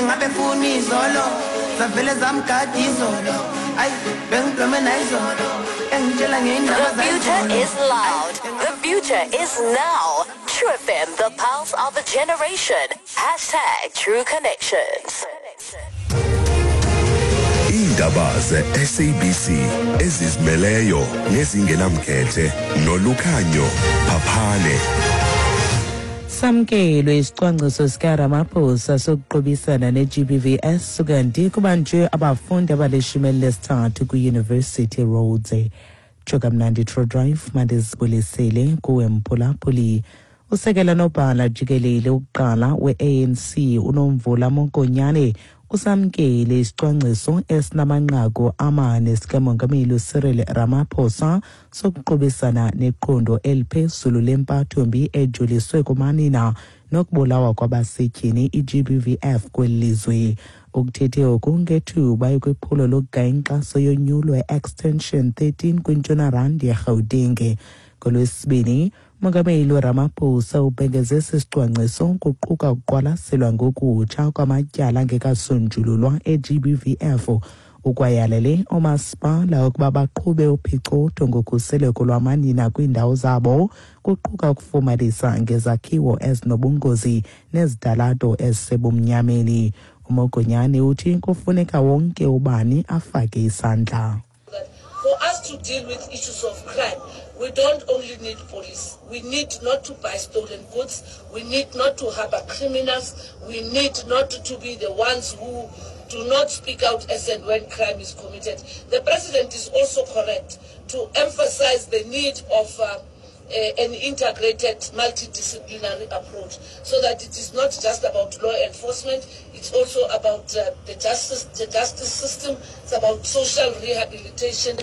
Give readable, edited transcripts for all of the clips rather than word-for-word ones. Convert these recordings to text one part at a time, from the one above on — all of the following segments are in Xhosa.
Engabe funa izolo zavele zamgada izolo ayi bengiblome nayizolo engitshela ngey'ndaba The future zayizolo is loud. The future is now. True FM, the pulse of a generation. Hashtag True Connections. Iindaba ze-SABC ezizimeleyo nezingenamkhethe nolukhanyo phaphane. Samkelwe isicwangciso sikaRamaphosa sokuqubisana ne-GBVS kanti kubanjwe abafundi abalishumi elinesithathu kwiYuniversity Rhodes. Tsho kamnandi True Drive mandizibulisele kuwe mphulaphuli. Usekela nobhala jikelele ukuqala we-ANC uNomvula Mokonyane usamkele isicwangciso esinamanqaku amane sikamongameli uCyril Ramaphosa sokuqubisana neqondo eliphezulu lempatho-mbi ejoliswe kumanina nokubulawa kwabasetyhini i-GBVF kweli lizwe. Ukuthethe oku ngethuba ekwiphulo lokugaya inkxaso yonyulo e-Extension 13 kwintshona randi yeRhawuteng. NgolwesiBini, uMongameli uRamaphosa ubhengeze esi sicwangciso kuquka ukuqwalaselwa ngokutsha kwamatyala angekasonjululwa e-GBVF. Ukwayalele oomasipala ukuba baqhube uphicotho ngokhuseleko lwamanina kwiindawo zabo, kuquka ukufumanisa ngezakhiwo ezinobungozi nezitalato ezisebumnyameni. UMogonyane uthi kufuneka wonke ubani afake isandla. For us to deal with issues of crime, we don't only need police. We need not to buy stolen goods. We need not to harbor criminals. We need not to be the ones who do not speak out as and when crime is committed. The president is also correct to emphasize the need of an integrated multidisciplinary approach, so that it is not just about law enforcement, it's also about the justice system, it's about social rehabilitation.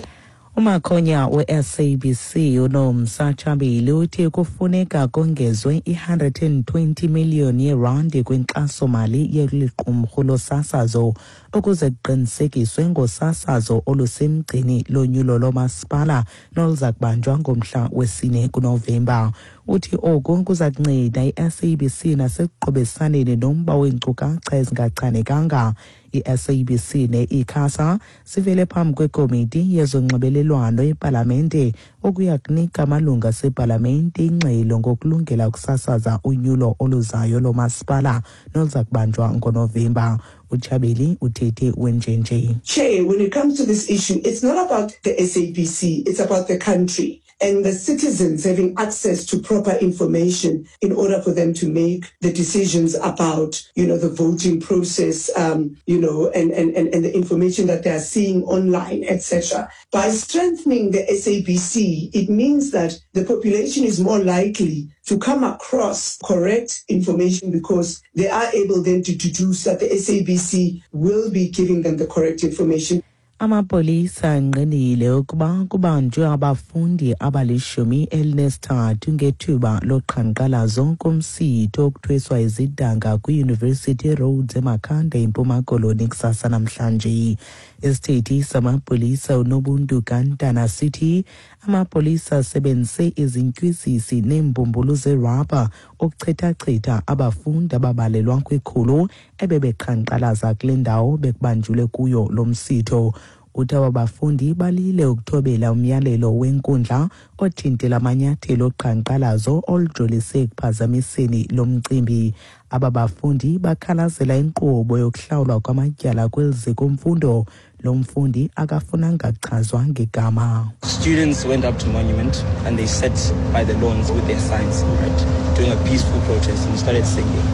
Umakhonya we-SABC uNomsa Tshabile uthi kufuneka kongezwe i-120 million yerandi kwinkxasomali yeli qumrhu losasazo ukuze kuqinisekiswe ngosasazo olusemgcini lonyulo lomasipala noluza kubanjwa ngomhla wesine kuNovemba. Uthi oku kuza kunceda i-SABC nasekuqobesaneni nomba weenkcukacha ezingachanekanga. I-SABC ne-ICASA sivele phambi kwekomiti yezonxibelelwano epalamente ukuya kunika amalungu asepalamente ingxelo ngokulungela ukusasaza unyulo oluzayo lomasipala noluza kubanjwa ngoNovemba. UTshabeli uthethe wenjenje. Chair, when it comes to this issue, it's not about the SABC, it's about the country and the citizens having access to proper information in order for them to make the decisions about, the voting process, and the information that they are seeing online, etc. By strengthening the SABC, it means that the population is more likely to come across correct information because they are able then to deduce that the SABC will be giving them the correct information. Amapolisa angqinile ukuba kubanjwe abafundi abalishumi elinesithathu ngethuba loqhankqalazo kumsitho wokuthweswa izidanga kwiYuniversity Rhodes eMakhanda eMpuma Koloni kusasa namhlanje. Isithethi samapolisa uNobuntu Gantana sithi amapolisa asebenzise izintywizisi neembumbulu zerabha ukuchithachitha abafundi ababalelwa kwikhulu ebebeqhankqalaza kule ndawo bekubanjulwe kuyo lo msitho. Uthi aba bafundi balile ukuthobela umyalelo wenkundla othintela amanyathelo oqhankqalazo olujolise ekuphazamiseni lo mcimbi. Aba bafundi bakhalazela inkqubo yokuhlawulwa kwamatyala kweli ziko-mfundo. Lo mfundi akafunanga kuchazwa ngegama. Students went up to Monument and they sat by the lawns with their signs, right, doing a peaceful protest and started singing.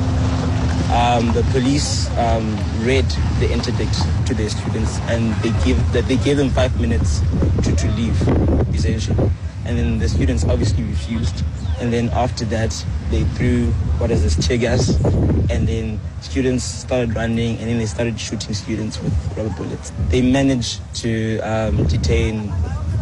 The police read the interdict to their students and they gave them 5 minutes to leave, essentially. And then the students obviously refused. And then after that, they threw, what is this, tear gas. And then students started running and then they started shooting students with rubber bullets. They managed to detain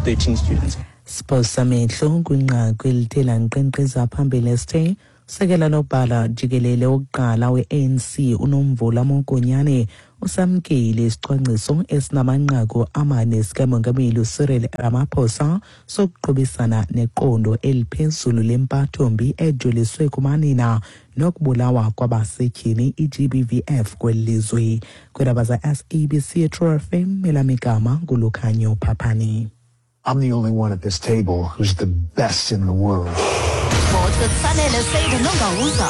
13 students. Siphosa amehlo kwinqaku elithe lankqenkqeza phambili esithe Usekela nobhala jikelele wokuqala we-ANC uNomvula Mokonyane usamkele isicwangciso esinamanqaku amane sikaMongameli uCyril Ramaphosa sokuqubisana neqondo eliphezulu lempathombi ejoliswe kumanina nokubulawa kwabasetyhini i-GBVF kweli lizwe. Kwiindaba za-SABC True FM, elamigama nguLukhanyo Phaphani. I'm the only one at this table who's the best in the world. Sports with Sanele Seide Nongawuza.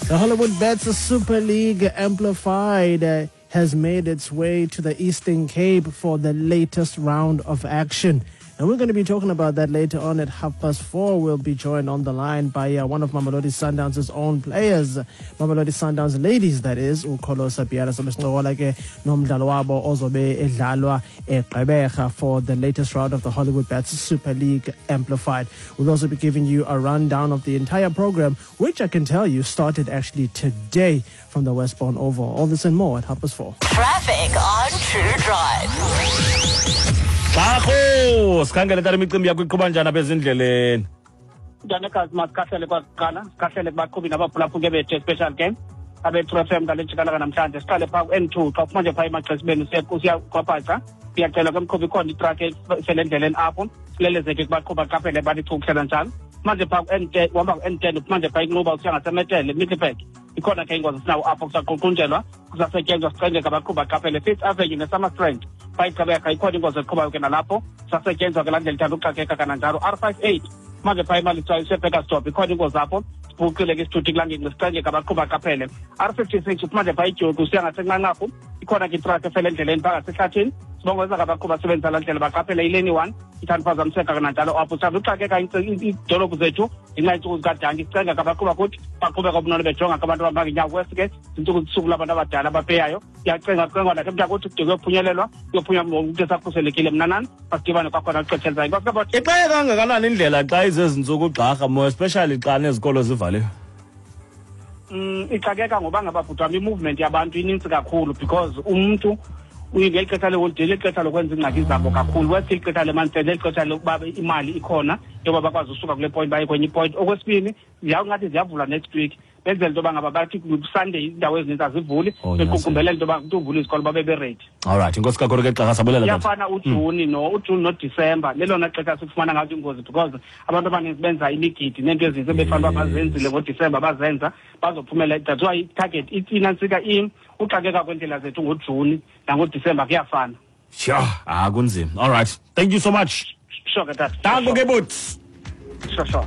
The Hollywoodbets Super League Amplified has made its way to the Eastern Cape for the latest round of action. And we're going to be talking about that later on at 4:30. We'll be joined on the line by one of Mamelodi Sundowns' own players, Mamelodi Sundowns ladies, that is, uKholosa Biyela. Sobe sincokola ke nomdlalo wabo ozobe edlalwa eGqeberha for the latest round of the Hollywoodbets Super League Amplified. We'll also be giving you a rundown of the entire program, which I can tell you started actually today from the Westbourne Oval. All this and more at 4:30. Traffic on True Drive. Xarhu, sikhangele tata imicimbi yakho iqhuba njani apha ezindleleni? Mntanekazi, masikhahlele kwakuqala, sikhahlele kubaqhubi nabaphulaphuli bethu special game abe-True FM ngale njikalanga namhlanje. Siqale phaa ku-N2 xa uphuma nje phaa emaxesibeni usiya kwaBhaca, uyacelwa ke mqhubi, ikhona itrakhi esele endleleni apho, silelezeke kubaqhubi aqaphele balichukuhlela njalo. Manje phaa ku-N10, uhamba ku-N10 uphuma nje phaa iNxuba usiya ngaseMetele, Middelburg, ikhona ke ingozi sinawo apho, kusaququnjelwa, kusasetyenzwa, sicengeka abaqhubi aqaphele. Fifth Avenue neSummerstrand phaa iGqeberha, ikhona ingozi eqhubayo ke nalapho, kusasetyenzwa ke laa ndlela ithanda uxakeka kananjalo. R58 manje phaa eMalitswayo useBurgersdorp, ikhona ingozi apho, sibhuqile ke isithuthi kulaa ngingqi, sicengeka abaqhubi aqaphele. R56 uphuma nje phaa iDyoki usiya ngaseNqanqarhu, ikhona ke itrakhi efele endleleni phaa ngasehlathini, sibongoza ke abaqhubi abasebenzisa laa ndlela baqaphele ileni 1 ithanda uphazamiseka kananjalo apho. Sithanda uxakeka iidolophu zethu ngenxa yeentsuku zikadanki, sicenga ke abaqhuba kuthi baqhubeka ubunono bejonga ke abantu abahamba ngeenyawo. Kwesi ke ziintsuku zisuku labantu abadala abapeyayo, kuyacenga kucengwa nakhe mntakuthi kude kuyophunyelelwa, kuyophunywa ngomntu esakhuselekile. Mna nani masidibane kwakhona kwixesha elizayo. Inkosi kaBothi. Ixake kangakanani indlela xa izezi ntsuku ugxarha, more especially xa nezikolo zivaliwe? Ixakeka ngoba ngaba bhuti wam i-movement yabantu inintsi kakhulu, because umntu ngeli xesha leholide lixesha lokwenza iingxaki zabo kakhulu. Wesi lixesha lemonth-end, lixesha lokuba imali ikhona yoba bakwazi usuka kule point baye kwenye ipoint. Okwesibini, ziyawungathi ziyavula next week, benzela into yoba ngaba bathi Sunday iindawo ezininzi azivuli, bequkumbelela into yoba umntu uvula izikolo babe beready. All right, inkosi kakhulu ke Xarha, sabulela. Iyafana uJuni no uJuni noDisemba lelona xesha sikufumana ngazo iingozi, because abantu abaninzi benza imigidi neento ezinintsi ebefanele uba bazenzile ngoDisemba, bazenza bazophumela. That's why i-target inantsika uxakeka kweendlela zethu ngoJuni nangoDisemba kuyafana. Sure, kunzima. All right, thank you so much. Sure ke tata. Danko ke bhuti. Sure.